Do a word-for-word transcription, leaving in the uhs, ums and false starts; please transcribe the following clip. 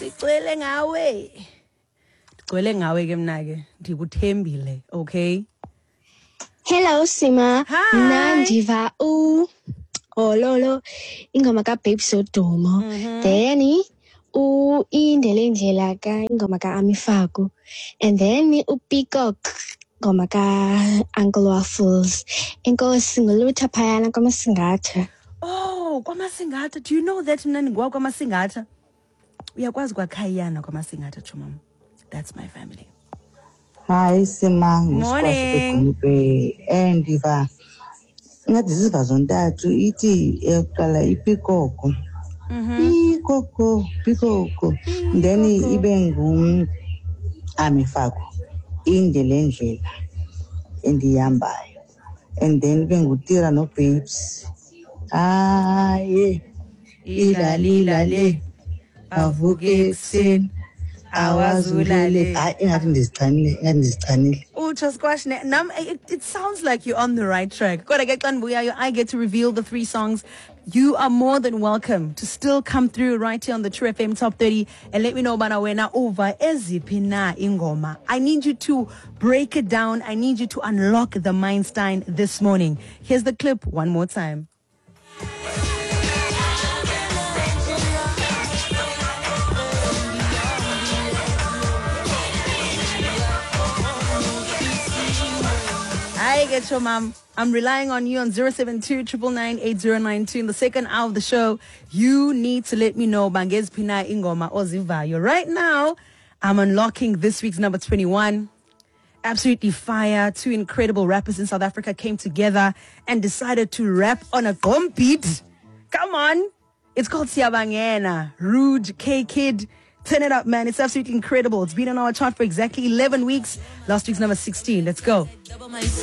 Sigcwele ngawe. Ndigcwele ngawe ke mna ke. Ndikuthembile, okay? Hello Sima. Hi. Mna ndiva u Ololo ingoma kaBabes Wodumo. Then u Indele Indlela ka ingoma kaAmi Faku. And then uPeacock ingoma ka Uncle Waffles. Enkosi ngolutha phayana kwaMasingatha. Oh, kwaMasingatha. Do you know that mna ndingwa kwaMasingatha? Uyakwazi kwakhayana kwaMasingatha, chomam. That's my family. Hayi Sima, Morning. nguSquash eh ndiva ngathi ziva zontathu ithi eyokuqala ipikoko. Pikoko, pikoko. Then ibe ngu Ami Faku. Inde le ndlela endiyihambayo. And then ibe nguTira noBabes. Hayi, ilalila le avuke ekuseni awazulale. Hayi, ingathi ndizichanile, ingathi ndizichanile. Utsho Squash, ne- nam, it, it sounds like you're on the right track. Kodwa ke xa ndibuyayo, I get to reveal the three songs. You are more than welcome to still come through right here on the True F M Top thirty and let me know bana wena uva eziphi na ingoma. I need you to break it down. I need you to unlock the Mindstein this morning. Here's the clip one more time. I get your mom. I'm relying on you on zero seven two, triple nine, eight zero nine two. In the second hour of the show, you need to let me know bangeziphi na ingoma ozivayo. Right now, I'm unlocking this week's number twenty-one. Absolutely fire. Two incredible rappers in South Africa came together and decided to rap on a gqom beat. Come on. It's called Siyabangena. Rude K Kid. Turn it up, man. It's absolutely incredible. It's been on our chart for exactly eleven weeks. Last week's number sixteen. Let's go.